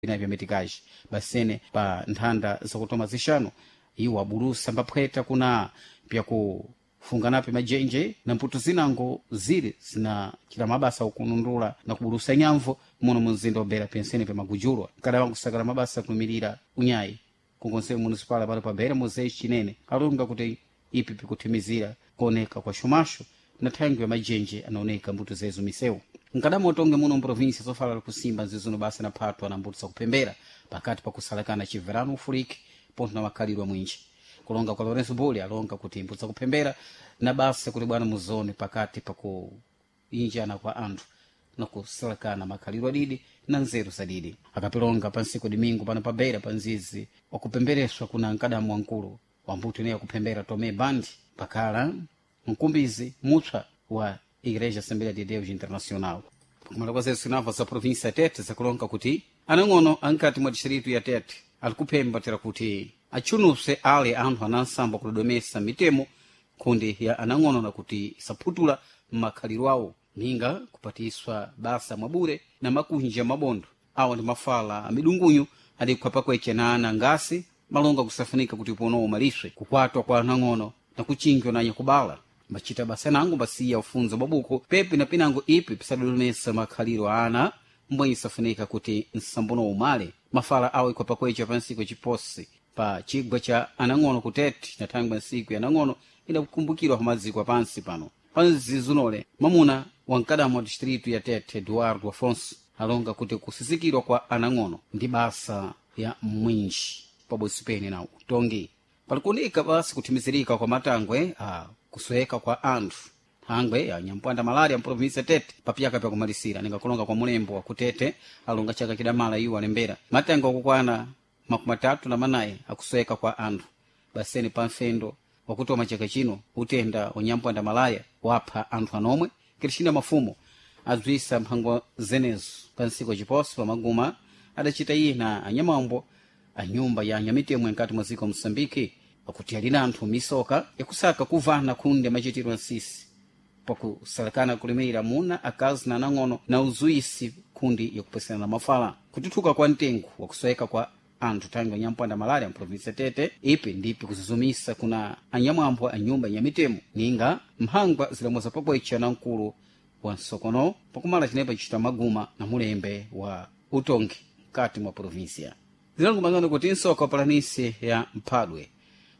Vya mitikaji basene pa nthanda zakutoma zixanu iwo abulusa mbaphweta kuna pyakufunganapi majenje na mputu zinango zili zinacita mabasa okunundula na kubulusa nyamvu muno munzinda obera pensene pya magujulwa kada wankusakala mabasa kunumirira unyayi ku conselho municipal pano pa Beira Moisés Chinene alonga kuti ipi pikuthimizira kuoneka kwa xumaxo na thangwi ya majenje anaoneka mbuto zezo misewu nkadama utonge muno mprovinsia zofala kusimba nzizuno basa na phatwa na mbuto zakupembera pakati pa kusalakana chiverano ufuriki pontho na makhalidwe mwinji kulonga kwa Lourenço Buli alonga kuti mbuto zakupembera na basa kuti bwana muzone pakati pa kuinjana kwa anthu na kusalakana makhalidwe adidi na nzeru zadidi akapilonga pa ntsiku domingo pano pa Beira pa nzizi wakupembereswa kuna nkadamu wankulu wa mbuto ineyo akuphembera Tomé Bandi pakhala mkumbizi mupsa wa Igreja Assembleia de Deus Internacional. Pakumala kwa zetu sinava za província ya Tete zakulonga kuti anang'ono ankati mwa distrito ya Tete alikuphemba tera kuti atchunuse ale anthu anansambo kudodomesa mitemo kundi ya anang'ono na kuti isaphutula makhalidwe awo ninga kupatiswa basa mwabure na makunja mabondo awo ndi mafala amidungunyu adikhwapa kweche na ana ngasi malonga kusafunika kuti pono umaliswe kukwatwa kwa anang'ono na kuchinjwa na anyakubala mbacita basa nango mbasiya ufunzo babuko pepi na pinango ipi pisadodomesa makhaliro a ana mbwe isafunika kuti nsambono umale mafala awo ikhwapa kweche pa nsiku yaciposi pa chigwa cha anang'ono kutete na thangwi nsiku ya anang'ono idakukumbukirwa pa maziko apansi pano panzizunole mamuna wankadamu wa distrito ya Tete Eduardo Afonso alonga kuti kusisikirwa kwa anang'ono ndi basa ya mwinji pabodzi pene na utongi palikuoneka basi kuthimizirika kwa matangwe a kusweka kwa anthu thangwe ya nyampwanda malaria mprovinsia Tete papyaka pyakumalisira ningakulonga kwa mulembo wa kutete alonga chaka chidamala iwo alembera matangwe akukwana 34 akusweka kwa anthu baseni pa mfendo wakutoma chaka chino utenda unyampwanda malaya wapha anthu anomwe Cristina Mafumo adzwisa mphango zenezo pa ntsiku yaciposo pamaguma adacita iye na anyamambo a nyumba ya anyamitemo nkati mwa dziko Moçambique pakuti alina anthu misoka yakusaka kuvana khunde machitidwe nsisi pakusalakana kulimira muna akazi na anang'ono na uzuisi khundi yakupesana mafala kututhuka kwa mtengo wakusweka kwa anthu thangwi anyampwanda malaria mprovinsia Tete ipi ndipi kuzuzumisa kuna anyamwambo a nyumba ya mitemo ninga mphangwa zilamuza pakwecha na mkulu wa nsokono pakumala cinepa cicita maguma na mulembe wa utongi mkati mwa provinsia zilango kuti nsoka wa palanisi ya mphadwe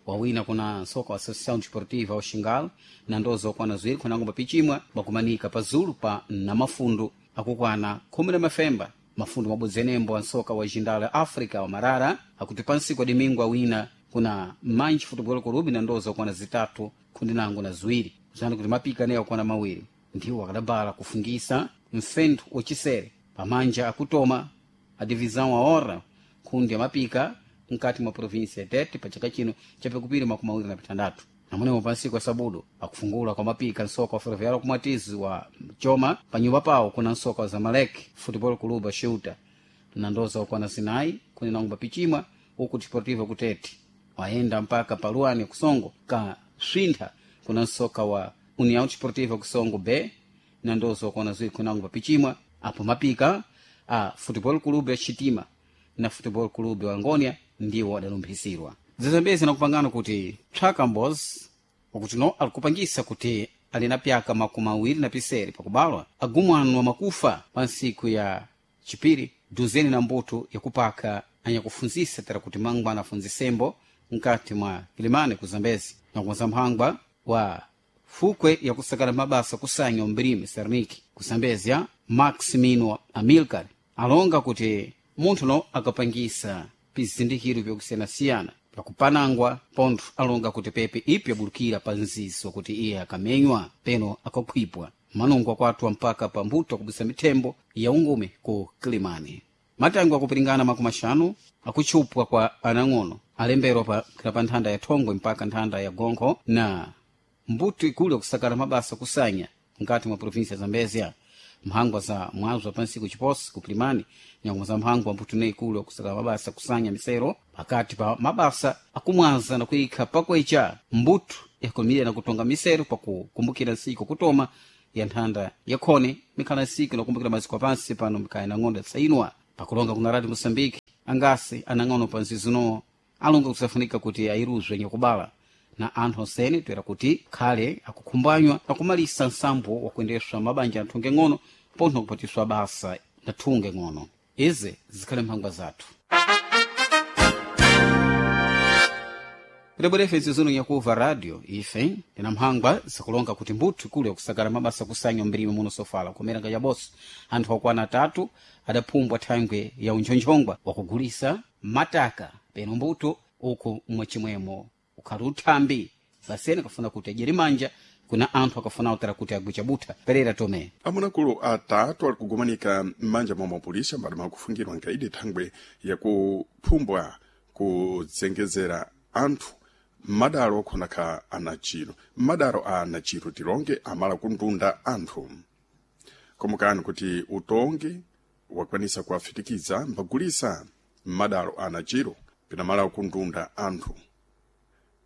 wawina kuna nsoka wa Associação Desportiva wa Xingal na ndozo okwana ziwiri khunango papichimwa bakumanika pazulu pa namafundu akukwana khumi na mafemba mafundu mabodzi enembo a nsoka wa jindala África wa Marara akuti pansiku adimingo awina kuna Manji Futebol Clube na ndozo okwana zitatu khundi nango na ziwiri kuzani kuti mapika naye okwana mawiri ndiwo akadabala kufungisa mfentho wacisere pamanja akutoma a divisão a hora khundi amapika mkati mwa província ya Tete pa chaka chino chapikupiri 26 namunewo pansiku ya sabudu akufungula kwa mapika nsoka wa ferroviário kumwatizi wa choma pa nyumba pawo kuna nsoka wa Zamalek Futebol Clube a na ndoza okwana zinayi kuni nangomba pichimwa uku Desportivo kutete wayenda mpaka paluani kusongo ka swintha kuna nsoka wa União Desportiva kusongo B na ndoza okwana ziwiri kuni nangomba pichimwa apo mapika a Futebol Clube ya Chitima na Futebol Clube wa Angônia ndiwo adalumphisirwa zizambezi nakupangana kuti Tchakambos wakuti no alikupangisa kuti ali na pyaka 27 pakubalwa agumwano wa makufa pa ntsiku ya chipiri duzeni na mbuto yakupaka anyakufunzisa tera kuti mangwana afunzisembo mkati mwa Kilimani ku Zambezi nakukonza mphangwa wa fukwe yakusakala mabasa kusanya umbirimi Serniki ku Zambezia Maximino Amilcar alonga kuti munthu no akapangisa pizindikiro vyakusiyanasiyana pakupanangwa pontho alonga kuti pepe ipi yabulukira pa nzizi wakuti iye akamenywa peno akakhwipwa manungo akwatwa mpaka pa mbuto akubisa mithembo ya ungume ku Kilimani matango akupiringana 50 akutchupwa kwa anang'ono alemberwa pa pa nthanda ya thongwe mpaka nthanda ya gonkho na mbuto ikulu yakusakala mabasa kusanya mkati mwa província ya Zambezia mphangwa za mwazo wa pansiku chiposi kupilimani nyangoma za mphangwa mbuto ne ikulu yakusakala mabasa kusanya misero pakati pa mabasa akumwaza na kuyikha pakwecha mbuto yakumira na kutonga misero pakukumbukira nsiku kutoma ya nthanda yakhone mikhala nsiku nakumbukira maziko apansi pano mikaya na ng'ondo yatsayinwa. Pakulonga kuna Radio Moçambique, angasi anang'ono pa nzizinowo alonga kusafunika kuti ayiruzwe nyakubala na anthu onsene toera kuti khale akukhumbanywa na kumalisa nsambo wakuyendeswa mabanja anthu ngeng'ono pontho kupatiswa basa na thunge ng'ono. Izi zikhale mphangwa zathu. Kudabwera ife zino nyakuva radio ife tina mphangwa zikulonga kuti mbuthu ikulu yakusakala mabasa kusanya mbirime muno sofala kumeranga yaboso anthu akwana atatu adaphumbwa thangwe ya unchonchongwa wakugulisa mataka peno mbuto uku mwachimwemo ukhali uthambi basene akafuna kuti adyere manja kuna anthu akafuna utara kuti agwicha butha. Perera Tome. Amunakulu atatu ali kugumanika m'manja mwa mapolisa mbali mwakufungirwa nkaidi thangwe yakuphumbwa kudzengezera anthu madalo okhonakha anachiro madalo a anachiro tilonge amala kundunda anthu. Komukani kuti utongi wakwanisa kuwafitikiza mbagulisa madalo a anachiro pinamala kundunda anthu.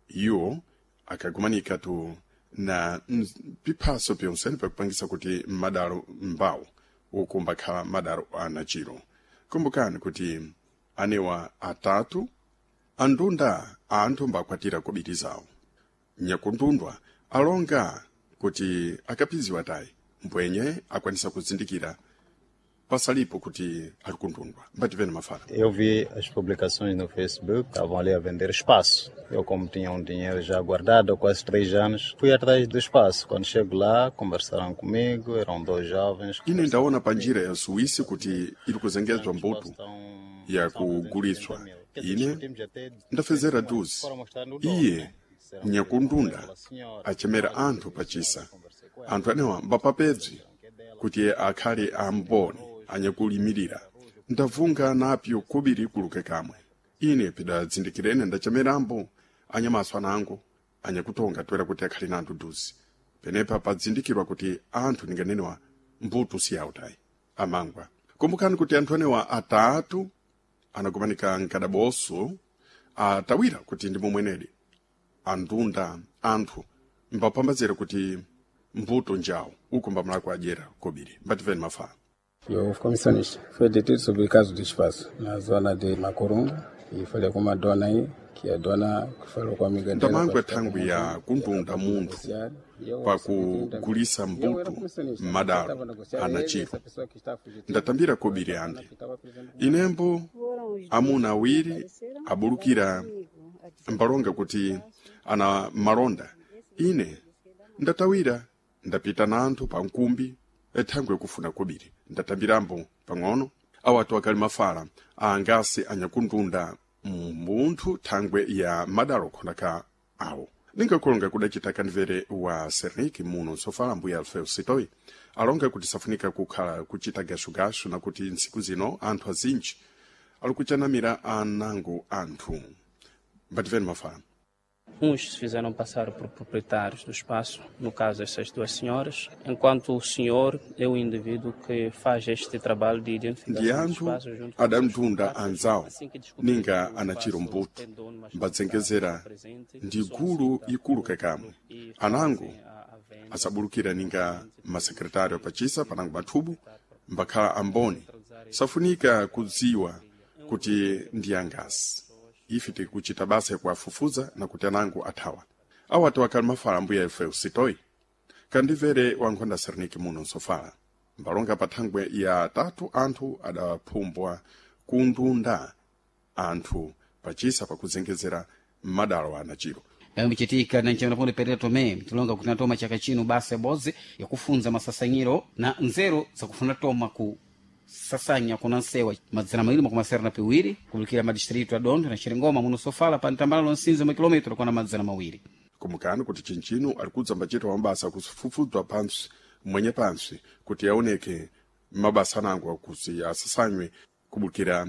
Iwo akagumanika tu na piphaso pyonsene pakupangisa kuti madalo mbawo uku mbakhala madalo a anachiro. Kumbukani kuti anewa atatu andunda anthu mbakwatira kobiri zawo. Nyakundundwa alonga kuti akapiziwa tayi mbwenye akwanisa kuzindikira pasalipo kuti ali kundundwa. Mbativene mafala. Eu vi as publicações no Facebook, estavam ali a vender espaço. Eu, como tinha um dinheiro já guardado há quase 3 anos, fui atrás do espaço. Quando chego lá, conversaram comigo, eram dois jovens. Ine ndaona pa njira ya Suíça kuti iri kuzengezwa mbuto yakuguliswa. Ine ndafezera duzi iye nyakundunda achemera anthu pachisa. Anthu anewa mbapapedzi kuti akhale amboni anyakulimirira. Ndavunga napyo kubiri kuluke kamwe. Ine pidadzindikirene ndachemerambo anyamaso anango anyakutonga toera kuti akhale na anthu duzi. Penepa padzindikirwa kuti anthu ninganenewa mbuto siyawo tayi amangwa. Kumbukani kuti anthu anewa atatu anagumanika mkadaboso atawira kuti ndi momwenedi andunda anthu mbapambazira kuti mbuto njawo uku mbamulako adyera kobiri. Mbativeni mafala. Eu comissionista foi detido sobre caso de espaço na zona de Macorongo e falei com uma dona aí, que a dona que falou com a amiga dela Ndamangwe para ficar com thangwi ya ela kundunda para munthu negociar. E eu recebi 30 mil. pakugulisa E eu era mbuto comissionista, eu m'madalo estava a negociar ele, anachiro. essa pessoa que está fugitiva, Ndatambira com kobiri essa dona ande. que estava presente comigo. Inembo amuna awiri abulukira mbalonga kuti ana malonda. Ine ndatawira ndapita na anthu pa nkumbi ethangwe kufuna kobiri. Ndatambirambo pang'ono awatu akali mafala angasi anyakundunda munthu thangwe ya madalo khonaka awo. Ningakulonga kudacita kanvere wa Serniki muno nsofala mbuya Alfeu Sitoi alonga kuti safunika kukhala kuchita gashugashu na kuti ntsiku zino anthu azinji ali kuchanamira anango anthu. Mbativeni mafala. Uns se fizeram passar por proprietários do espaço, no caso essas duas senhoras, enquanto o senhor é o indivíduo que faz este trabalho de Ndi identificação do anthu espaço junto com os seus adamtunda contatos. anzawo Assim que descobrir que ninga o anachiro espaço mbuto tem dono, mas não está mbadzengezera presente, ndi gulu solicitam ikulu o kakamwe. dono e Anango fazem a venda asabulukira ninga masekretário apachisa panango mathubu mbakhala amboni. Safunika kudziwa kuti ndi angasi. Ife tikuchita basa yakuwafufuza na kuti anango athawa. Awatu akali mafala mbuya ife usitoi kandivere wankhonda Serniki muno nsofala. Mbalonga pa thangwe ya tatu anthu adaphumbwa kundunda anthu pachisa pakuzengezera madalo anachiro. Yambichitika na nchemera Perera Tome tilonga kuti natoma chaka chino basa yabodzi yakufunza masasanyiro na nzeru zakufuna toma ku sasanya kuna nsewa madzana mawiri makumi asanu na piwiri kubulikira madistritu a Dondo na Chiringoma muno sofala pa mtambalalo nsinzi mwa kilometro kwana madzana mawiri. Kumukani kuti chinchino ali kudza mbachita mabasa kufufudzwa pansi mwenye pansi kuti aoneke mabasa anango akuti asasanywe kubukira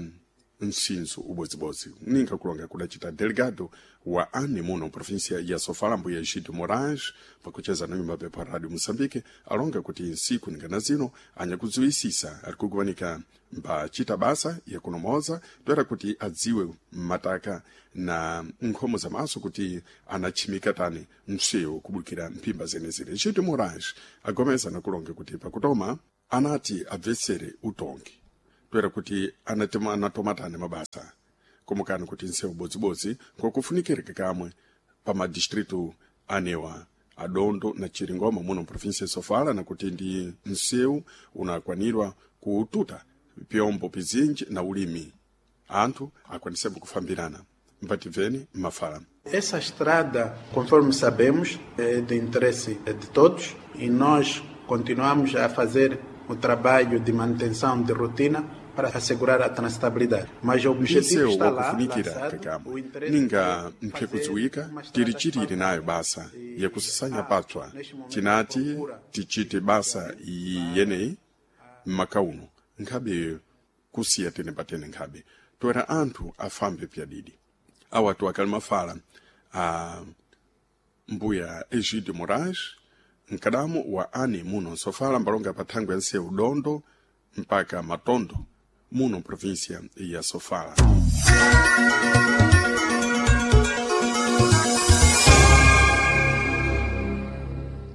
msinzo ubodzibodzi. Ninga kulonga kudacita delegado wa ane muno província ya Sofala mbuya Egídio Moraes pakucheza na nyumba pepa Radio Moçambique alonga kuti nsiku ningana zino anyakudziwisisa ari kuguwanika mbachita basa yakunomoza toera kuti adziwe mataka na nkhomo za maso kuti anachimika tani msewu kubukira mphimba zenezene. Egídio Moraes agomeza nakulonga kuti pakutoma anati abvetsere utongi. Toera kuti anatomatane mabasa komukani kuti nsewu bodzibodzi ngokufunikireka kamwe pa madistritu anewa adondo na chiringoma muno mprovinsia ya sofala, nakuti ndi nsewu unakwanirwa kututa pyombo pizinji na ulimi anthu akwanisembo kufambirana. Mpatibveni mafala. Essa estrada, conforme sabemos, é de interesse de todos e nós continuamos a fazer o trabalho de manutenção de rotina para assegurar a transitabilidade. Mas o objetivo Nsewu está lá, wakufunikira lançado, kakamwe o interesse ninga é mphekudziwika fazer uma tili estrada chitili nayo basa yakusasanya patswa. Neste momento, Tinati procura tichite basa iyi yeneyi mmaka uno nkhabe kusiya tene patene nkhabe toera anthu afambe pyadidi. Awatu akali mafala a mbuya Egídio Moraes, mkadamo wa ane muno nsofala, mbalonga pa thangwe ya nsewu Dondo mpaka Matondo muno província ya Sofala.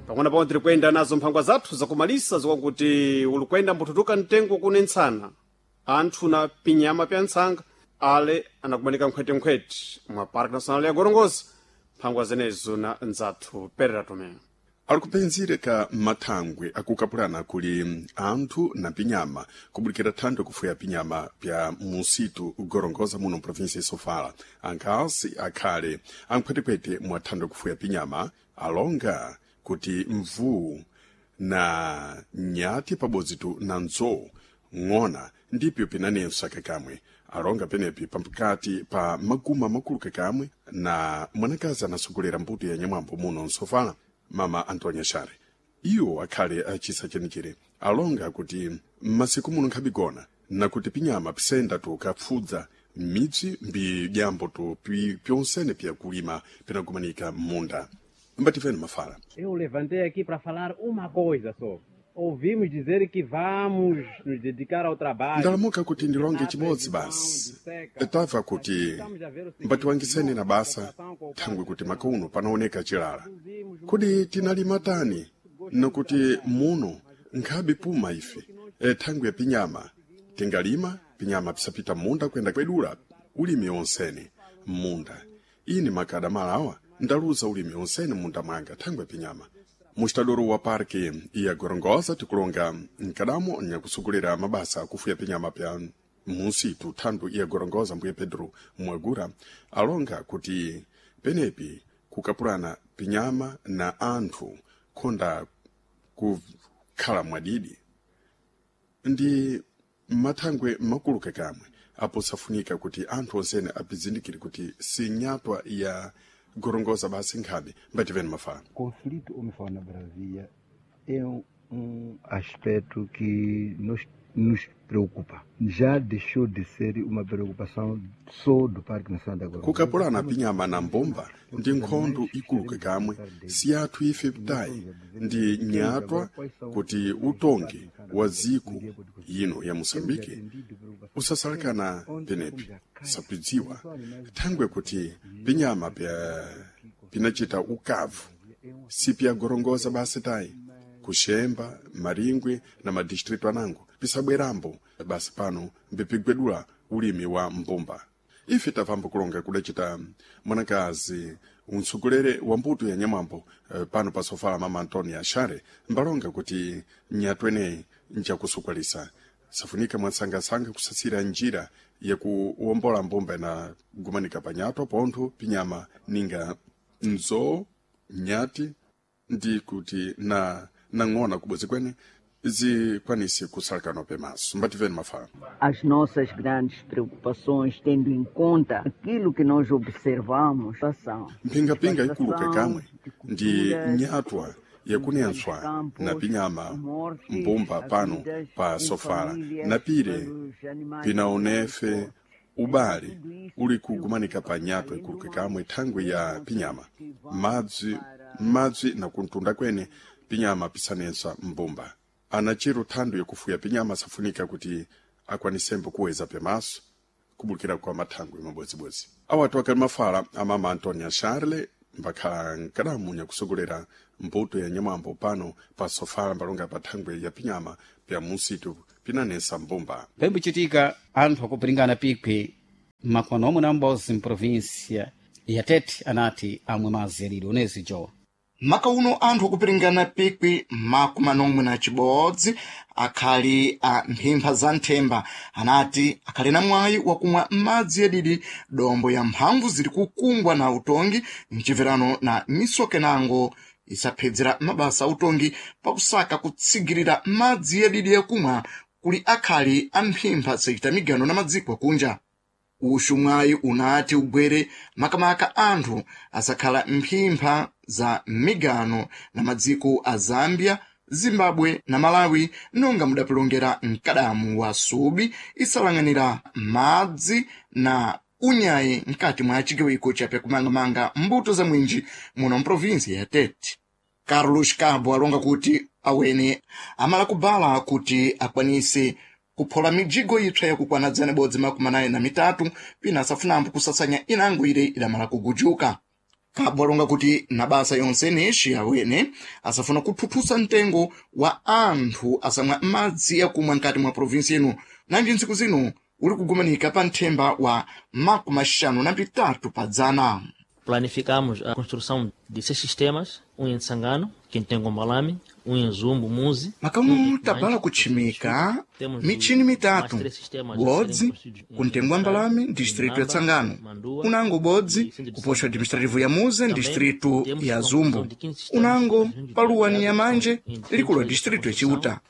Pang'ono pamwe tiri kuyenda nazo mphangwa zathu zakumalisa zikwakuti uli kuyenda mbututuka mtengo kune ntsana anthu na pinyama pya ntsanga ale anakumanika nkhwetenkhwete mwa Parque Nacional ya Gorongosa. Mphangwa zenezo na nzathu Perera Tomé. Ali kupenzere ka mathangwe akukapulana kuli anthu na pinyama kubulikira thando kufuya pinyama pya musitu Gorongosa muno mprovinsia ya Sofala. Ankhansi akhale ankhwetekhwete mwa thando kufuya pinyama alonga kuti mvuu na nyati pabodzitu na nzowu ng'ona ndipyo pinanenso kakamwe. Alonga penepi pamkati pa maguma makulu kakamwe na mwanakazi anasogolera mbuto ya nyamwambo muno nsofala, mama Antonia Share. Iwo akhale achisa chenichire alonga kuti m'masiku muno nkhabigona nakuti pinyama pisenda tukapfudza m'midzi mbi dyambo tu pyonsene pyakulima pinagumanika m'munda. Mbatifeni mafala. Eu levantei aqui para falar uma coisa só. Ouvimos dizer que vamos nos dedicar ao trabalho. Ndalamuka kuti ndilonge chimodzi basi. Tamva kuti mbatiwangiseni na basa thangwe kuti makuno panaoneka chilala. Kodi tinalima tani nakuti muno nkhabe puma ife e thangwe ya pinyama tingalima pinyama pisapita munda kuyenda kwedula ulimi onsene m'munda. Ini makada malawa ndaluza ulimi onsene munda mwanga thangwe ya pinyama. Mustadoro wa parke ya Gorongosa tikulonga mkadamo nyakusugulira mabasa akufuya pinyama pya musitu thandu ya Gorongosa, mbuye Pedro Mwagura, alonga kuti penepi kukapulana pinyama na anthu khonda kukhala mwadidi ndi mathangwe makulu kakamwe apo safunika kuti anthu onsene apizindikire kuti si nyatwa ya Gorongosa basi nkhabe. Mbativeni mafala. Conflito homem-fauna bravia é um aspecto que nos preocupa. Já deixou de ser uma preocupação só do Parque Nacional da Gorongosa. Kukapulana pinyama na mbumba ndi nkhondo ikulu kakamwe si athu ife ptayi ndi nyatwa kuti utongi wa dziko ino ya Moçambique usasalekana penepi sapidziwa thangwe kuti pinyama pya pinachita ukavu si pyagorongosa basi tayi kuxemba maringwe na madistritu anango pisabwerambo basi pano mbipigwedula ulimi wa mbumba. Ife tapambo kulonga kudacita mwanakazi unsogolere wa mbuto ya nyamwambo pano pa sofala, mama Antonia Ashare, mbalonga kuti nyatweneyi njakusukwalisa safunika mwansangasanga kusasira njira yakuwombola mbumba inagumanika panyatwa pontho pinyama ninga nzoo nyati ndi kuti na nang'ona kubodzi kwene zikwanise kusalekana pemaso. Mbativeni mafala. As nossas grandes preocupações, tendo em conta aquilo que nós observamos, são mphingapinga ikulu kakamwe ndi nyatwa yakunentswa na pinyama mbumba pano pa sofala na pire pinaonefe ubale uli kugumanika pa nyatwa ikulu kakamwe thangwe ya pinyama madzi madzi na kuntunda kwene pinyama pisanensa mbumba. Anachiro thando yakufuya pinyama safunika kuti akwanisembo kuweza pemaso kubukira kwa mathangwe mabodzibodzi. Awatu akali mafala amama Antonia Charle mbakhala nkadamu nyakusogolera mbuto ya nyamwambo pano pa sofala mbalonga pa thangwe ya pinyama pya musitu. pinanesa mbumba. Pembuchitika anthu akupiringana pikwi makono omwe na m'bozi mprovinsia ya Tete anati amwe madzi alili onezi jowa. Maka uno anthu akupiringana pikwi makumanomwe na chibodzi akhali a mphimpha za nthemba anati akhali na mwayi wakumwa madzi yadidi dombo ya mphamvu ziri kukungwa na utongi mchibverano na misokenango isaphedzera mabasa autongi pakusaka kutsigirira madzi yadidi yakumwa kuli akhali a mphimpha sachita migano na madziko akunja. Uxu mwayi unati ugwere makamaka anthu asakhala mphimpha za migano na madziko a Zambia, Zimbabwe na Malawi nonga mudapilongera mkadamu wa Subi isalang'anira madzi na unyayi mkati mwa chigawiko cha pyakumangamanga mbuto za mwinji muno mprovinsi ya Tete. Carlos Cabo alonga kuti awene amala kubala kuti akwanise kuphola mijigo ipsa yakukwana 143 pina asafunambo kusasanya inango ile idamala kugujuka. Cabo alonga kuti na basa yonse nexi awene asafuna kuthuthusa mtengo wa anthu asamwa madzi yakumwa mkati mwa provinsi ino nanji ntsiku zino uli kugumanika pa nthemba wa 53 pa dzana. Planificamos a construção de 6 sistemas, em Tsangano, que tem Gombalame, em Zumbo, Muzi. Makamu tabala kutchimika michini mitatu bodzi kuntengo Mbalame distrito ya Tsangano, unango bodzi kupoxo administrativo ya Muze distrito ya Zumbo, unango paluwani ya Manje likulu la distrito ya Chiuta,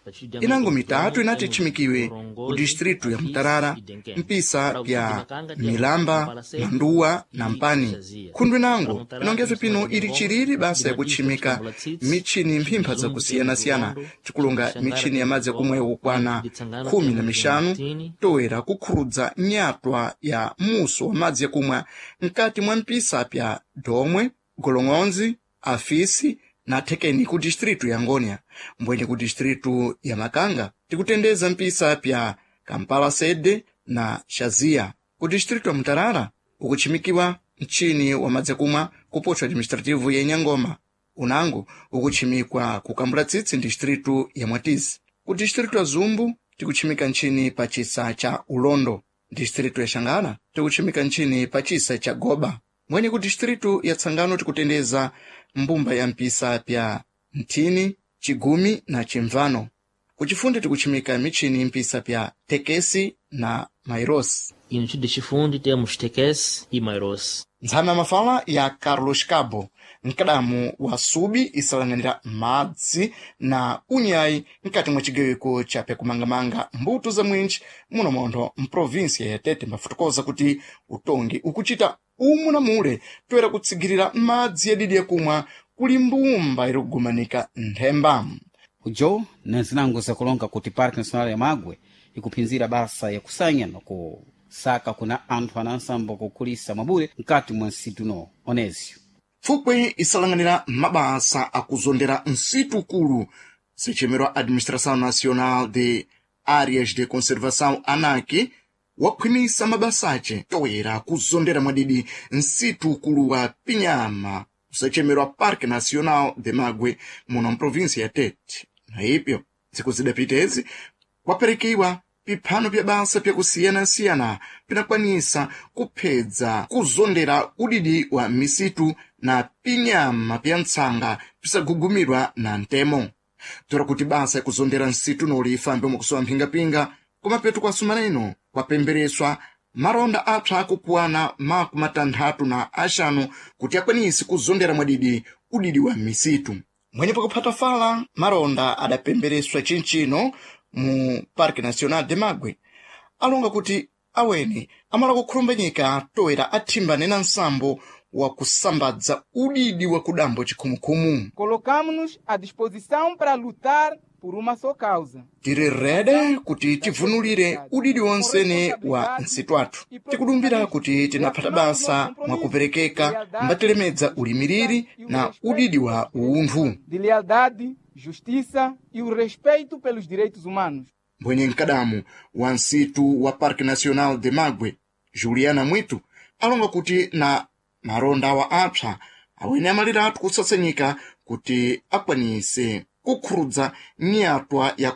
inango mitatu inati itchimikiwe ku distrito ya Mutarara, mpisa ya Milamba, Manduwa na Mpani. Khundu inango inongefe pino ili chiriri basa yakutchimika michini mphimpha zakusiyana-siyana tikulonga michini ya madzi yakumwa yakukwana 15 toera kukhurudza nyatwa ya muso wa madzi yakumwa mkati mwa mpisa pya Domwe, Golong'onzi, Afisi na Thekeni ku distritu ya Ngônia. Mbwenye ku distritu ya Makanga tikutendeza mpisa pya Kampala Sede na Xaziya. Ku distritu ya Mutarara ukutchimikiwa mchini wa madzi yakumwa kupoxo administrativo ya Inhangoma, unango ukutchimikwa kukambula tsitsi distritu ya Mwatizi. Ku distritu ya Zumbu tikutchimika ntchini pa chisa cha Ulondo. Distritu ya Xangara tikutchimika ntchini pa chisa cha Goba. Mwenye ku distritu ya Tsangano tikutendeza mbumba ya mpisa pya Nthini, Chigumi na Chimvano. Kuchifundi tikutchimika michini mpisa pya Tekesi na Mairosi. E no de Chifundi temos Tekesi e Mairosi. Ntsame ya mafala ya Carlos Cabo, mkadamu wa Subi isalang'anira madzi na unyayi mkati mwa chigawiko cha pyakumangamanga mbuto za mwinji muno montho mprovinsia ya Tete mbafutukoza kuti utongi ukuchita umu na mule toera kutsigirira madzi yadidi yakumwa kuli mbumba iri kugumanika nthemba. Ujo na zinango zakulonga kuti Parque Nacional ya Magwe ikuphinzira basa yakusanya na kusaka kuna anthu anansambo kukhulisa mabure mkati mwa nsitu onezio. Fukwe isalang'anira mabasa akuzondera nsitu ukulu sichemerwa Administração Nacional de Áreas de Conservação ANAC wakhwimisa mabasa ace toera kuzondera mwadidi nsitu ukulu wa Pinyama usachemerwa Parque Nacional de Magwe muno mprovinsia ya Tete. Na ipyo ntsiku zidapitezi kwaperekiwa piphano pya basa pyakusiyana-siyana pinakwanisa kuphedza kuzondera udidi wa misitu na pinyama pya ntsanga pisagugumirwa na ntemo. Tora kuti basa yakuzondera nsitu noli ifambe mwakusowa mphingapinga kumapeto kwa sumana ino kwapembereswa maronda apsa akupuwana 65 kuti akwanise kuzondera mwadidi udidi wa misitu. Mwenye pakuphata fala maronda adapembereswa chinchino mu Parque Nacional de Magwe alonga kuti awene amala kukhulumbenyeka toera athimbane na nsambo wa kusambadza udidi wa kudambo chikhumukhumu. Colocamo-nos à disposição para lutar por uma só causa. Tiri rede kuti tivunulire udidi wonsene wa nsitu athu. Tikudumbira kuti tinaphata basa mwakuperekeka mbatilemedza ulimiriri na udidi wa unthu. De lealdade, justiça e o respeito pelos direitos humanos. Mbwenye mkadamu wa nsitu wa Parque Nacional de Magwe, Juliana Mwitu, alonga kuti na maronda awa apsa awene amaliratu kusasenyika kuti akwanise kukhurudza nyatwa ya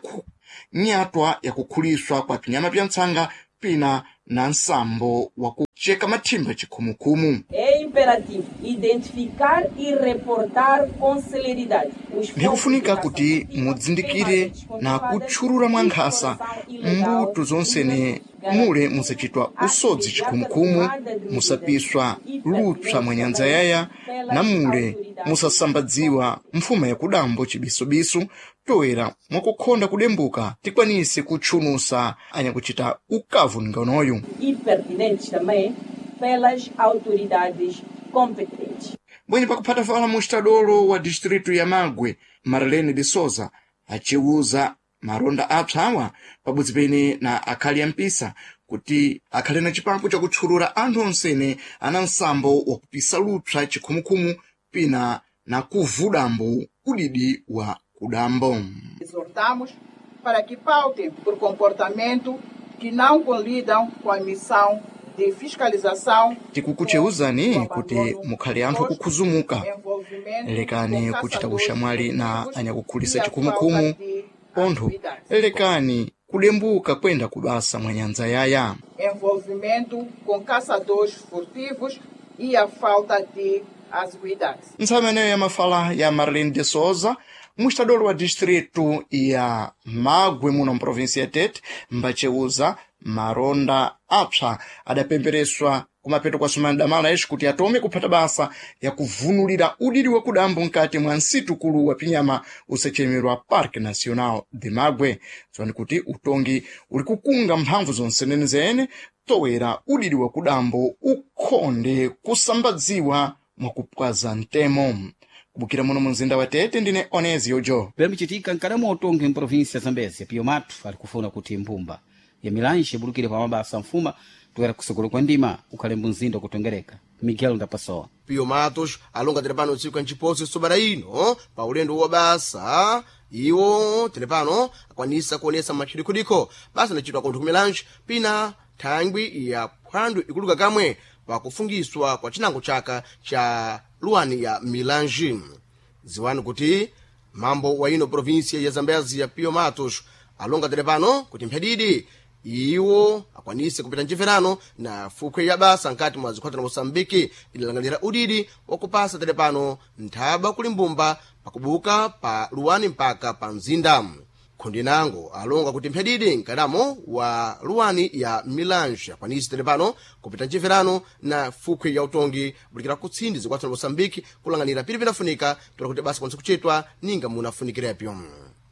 Nyatwa yakukhuliswa kwa pinyama pya ntsanga pina na nsambo wa kucheka mathimba chikhumukhumu. É imperativo identificar e reportar com celeridade os Ndikufunika kuti mudzindikire na kutchulula mwa nkhasa mbuto zonsene mule musachitwa usodzi chikhumukhumu, musapiswa lupsa mwa nyanja yaya, na mule musasambadziwa mfuma yakudambo chibisubisu, toera mwakukhonda kudembuka tikwanise kutchunusa anyakuchita ukavu nganoyu. E pertinentes também pelas autoridades competentes. Bwenye pakuphata fala mustadolo wa distritu ya Magwe, Marlene de Souza, aciwuza maronda apsa awa pabodzi pene na akhali ya mpisa kuti akhale na chipapo chakutchulula anthu onsene ana nsambo wakupisa lupsa chikhumukhumu pina na kuvudambo udidi wa kudambo. Exortamos para que pautem por comportamento que não colidam com a missão de fiscalização. Tikukucheuzani kuti mukhale anthu akukhuzumuka, lekani kuchita ushamwali na anyakukhulisa chikhumukhumu, pontho lekani kudembuka kwenda kubasa mwa nyanja yaya. Envolvimento com caçadores furtivos e a falta de assiduidade. Ntsama ineyo ya mafala ya Marlene de Souza, mustadolo wa distritu ya Magwe muno mprovinsi ya Tete, mbaceuza maronda apsa adapembereswa kumapeto kwa sumana damala ixi kuti atome kuphata basa ya kuvunulira udidi wa kudambo nkati mwa nsitukulu wa pinyama usachemerwa Parque Nacional de Magwe. Dziwani kuti utongi uli kukunga mphamvu zonsenenezene towera udidi wa kudambo ukhonde kusambadziwa mwakupwaza mtemo. Kubukira muno mu mzinda wa Tete, ndine Onezio Jo. Pemcitika nkadamo utongi mprovinsi ya Zambezia, Pio Matu ali kufuna kuti mbumba ya Milange ibulukire pa mabasa mfuma toera kusogolo kwa ndima ukhale mzinda kutongereka. Miguel Ndapasowa. Pio Matos alonga telepano tsiku nciposi sobera ino pa ulendo wa basa iwo telepano akwanisa kuonesa matchidikhodikho basa anachitwa kontho ku Milange pina thangwi ya phwando ikuluka kamwe pakufungiswa kwa chinango chaka cha luwani ya Milange. Ziwani kuti mambo wa ino provinsia ya Zambezia ya Pio Matos alonga telepano kuti mphadidi iwo akwanise kupita mchimverano na fukhwe ya basa nkati mwa zikhwatha na Moçambike idalangalira udidi wakupasa telepano nthaba kuli mbumba pakubuka pa luwani mpaka pa mzinda. Khundi nango alonga kuti mphadidi mkadamo wa luwani ya Milange akwanise telepano kupita mchimverano na fukhwe ya utongi bulikira kutsindi zikwatha na Moçambike kulanganira pili pinafunika tola kuti basa kwanise kuchitwa ninga munafunikirepo.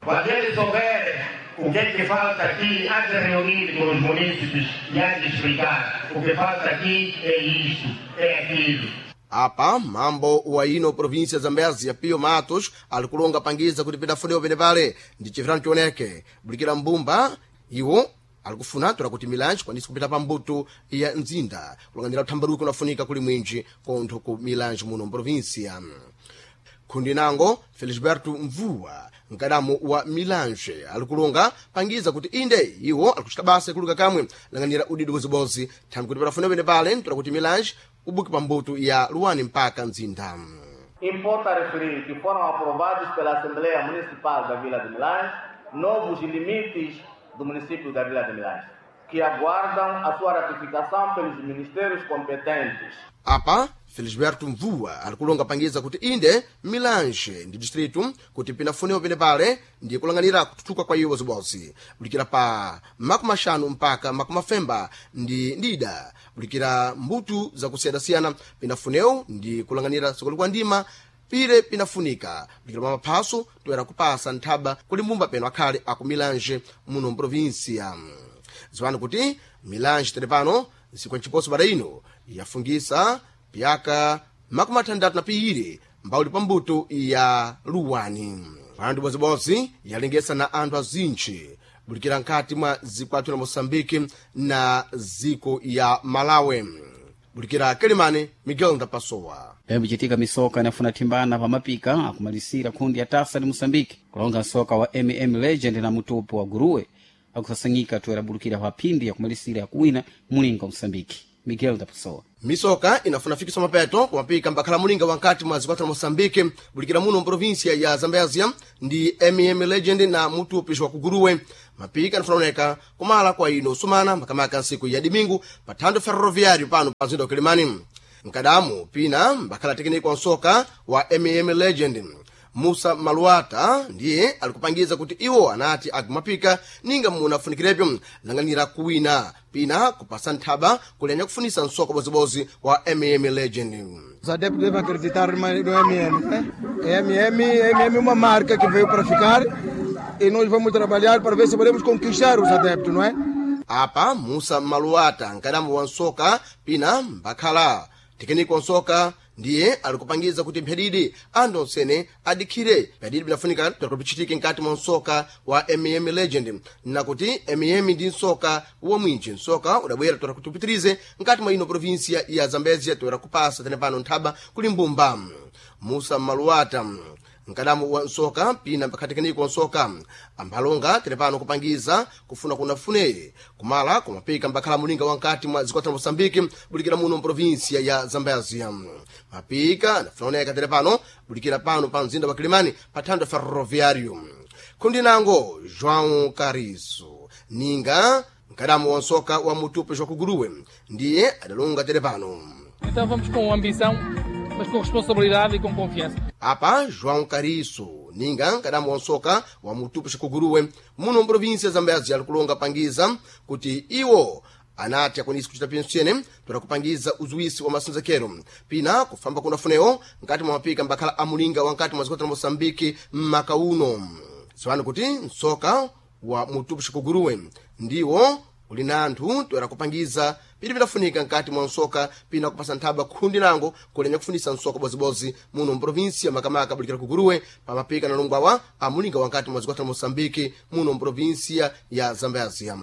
Quando ele souber o que é que falta aqui, há de reunir com os munícipes e há de explicar o que falta aqui é isto, é aquilo. Apa mambo wa ino província Zambezia Pio Matos alikulonga pangiza kuti pidafunewo penepale ndi chifirano chioneke bulikira mbumba iwo alikufuna tola kuti Milange kwanise kupita pa mbuto ya mzinda kulanganira uthambaruki unafunika kuli mwinji kontho ku Milange muno mprovinsia. Khundi nango Felisberto Mvua mkadamo wa Milange alikulonga pangiza kuti inde iwo alikuchita basa ikuluka kamwe langanira udidi wozibozi thangwi kuti padafuna pene pale ntola kuti Milange ubuke pa mbuto ya luwani mpaka mzinda. Importa referir que foram aprovados pela Assembleia Municipal da Vila de Milange novos limites do município da Vila de Milange, que aguardam a sua ratificação pelos ministérios competentes. Apa Felisberto Mvua alikulonga pangiza kuti inde Milange ndi distritu kuti pinafunewo penepale ndi kulanganira kututuka kwa iwo zibozi bulikira pa makumi axanu mpaka makumi afemba ndi ndida bulikira mbuto zakusiyanasiyana pinafunewo ndi kulanganira sokolo kwa ndima pile pinafunika bulikira pa maphaso toera kupasa nthaba kuli mbumba peno akhale aku Milange muno mprovinsia. Ziwani kuti Milange telepano nsiku nciposo pada ino yafungisa pyaka makumi athandathu na piwiri mbawuli pa mbuto ya luwani. Pano bodzibodzi yalengesa na anthu azintchi bulikira nkhati mwa ziko athu la Moçambike na ziko ya Malawi. Bulikira Kelimane, Miguel Ndapasowa. Pemcitika misoka inafuna thimbana pa mapika akumalisira khundi ya tasa ni Moçambike kulonga nsoka wa MM Legend na mutupo wa Guruwe akusasanyika toera bulukira pa phindi yakumalisira yakuwina mulinga wa Moçambike. Miguel da Pessoa. Misoka inafuna fikiswa mapeto kumapika mbakhala mulinga wankati mwa zikwata la Moçambique bulikira muno mprovinsia ya Zambezia ndi Legend na mutupi wa kuguruwe. Mapika anafuna oneka kumala kwa ino sumana makamaka nsiku ya dimingu pa thando ferroviário pano pa mzinda wa Kilimani. Mkadamu pina mbakhala tekiniko wa nsoka wa Legend Musa Maluata ndiye alikupangiza kuti iwo anati agumapika ninga munafunikirepo langanira kuwina pina kupasa nthaba kulenya kufunisa nsoka bozibozi wa Legend. Os adeptos devem acreditar no MM, né? MM é uma marca que veio para ficar e nós vamos trabalhar para ver se podemos conquistar os adeptos, não é? Apa Musa Maluata nkadambo wa nsoka pina mbakhala tekiniko wa nsoka ndiye alikupangiza kuti mphadidi anthu onsene adikhire mphadidi binafunika pichitike nkati mwa nsoka wa Legend nakuti ndi nsoka wamwinji nsoka udabwera toera kuti upitirize nkati mwa ino provinsia ya Zambezia toera kupasa tene pano nthaba kuli mbumba. Musa Maluata nkadamu wa nsoka pina mpakhatekeniko wa nsoka ambhalonga tene pano kupangiza kufuna kunafune kumala kumapika mbakhala mulinga wankati mwa zikwata la Moçambique bulikira muno mprovinsia ya Zambezia. Mapika nafunaoneka tene pano bulikira pano pa mzinda wa Kilimani pa thando ferroviário. Kundi nango João Carizo ninga nkadamu wa nsoka wa mutupi wa kuguruwe ndiye adalonga tene pano. Então vamos com ambição, mas com responsabilidade e com confiança. Apa João Cariço ninga nkadamu wa nsoka wa mutupi xikuguruwe muno mprovinsia ya Zambezia alikulonga pangiza kuti iwo anati akwanisi kuchita pensene toda kupangiza uzuwisi wa masinzekero pina kufamba kunafunewo nkati mwa mapika mbakhala amulinga wankati mwa zikota la Moçambique mmaka uno. Ziwani kuti nsoka wa mutupi xikuguruwe ndiwo uli na anthu toera kupangiza pili pidafunika nkati mwa nsoka pina kupasa nthaba khundi lango kulenya kufunisa nsoka bozibozi muno mprovinsia makamaka bulikira kuguruwe pamapika na longwawa amulinga wankati mwa zikwata la Moçambique muno mprovinsia ya Zambezia.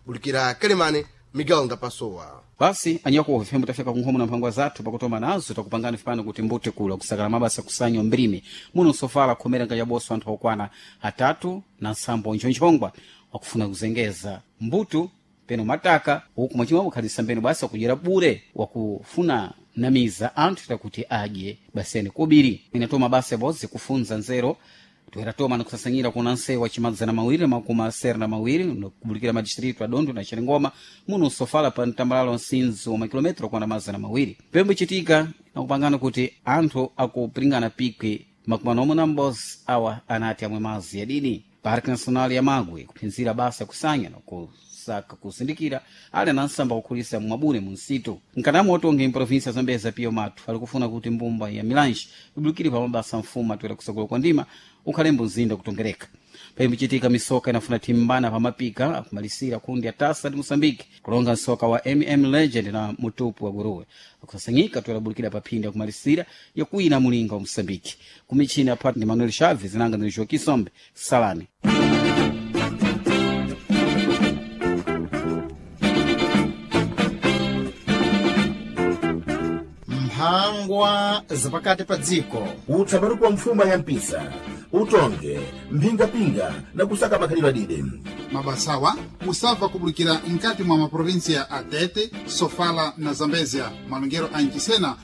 Bulikira Kelemane, Miguel Ndapasowa. Basi anyakuwa vifembo tafika kunkhomo na mphangwa zathu pakutoma nazo takupangani fipano kuti mbute kula kusakala mabasa kusanywa mbrimi muno sofala khomera nkachaboso anthu okwana atatu na nsambo nchonchongwa wakufuna kuzengeza mbutu peno mataka uku mwachimwa kukhalisa mbeno basi wakudyera bure wakufuna namiza anthu takuti adye basene kubiri inatoma basa bozi kufunza nzero toeratoma nikusasanyira kuna nsewu wa chimadzana mawiri makumi asere na mawiri nokubulikira madistritu adondo na xerengoma muno sofala pa mtambalalo nsinzi wa makilometro okwana mazana mawiri pembo ichitika nakupangana kuti anthu akupiringana pikwi makumi anomwe na m'bozi awa anati amwe mazi yadini Parque Nacional ya Magwe kuphinzira basa kusanya nakusaka kusindikira ali anansamba kukhulisa mwabune mu nsitu nkanamu otonge mprovinsia zambeza pio mathu ali kufuna kuti mbumba ya Milange ibulukire pa mabasa mfumu atoera kusakula kwa ndima ukhalembo mzinda kutongereka pembichitika misoka inafuna timbana pa mapika akumalisira kundi ya tasa ndi Moçambique kulonga nsoka wa Legend na mutupu wa guruwe akusasanyika toerabulikira pa phindi akumalisira yakuina mulinga wa Moçambique kumichini apati ndi Manuel Chaves nanga ndi Joaquim Sombe salani. Mphangwa zapakati pa dziko utsamari kwa mfuma ya mpisa utonge mphingapinga na kusaka makhalidwe adide Mabasawa musabva kubulikira nkati mwa maprovinsia a Tete, Sofala na Zambezia malongero a Nchisena.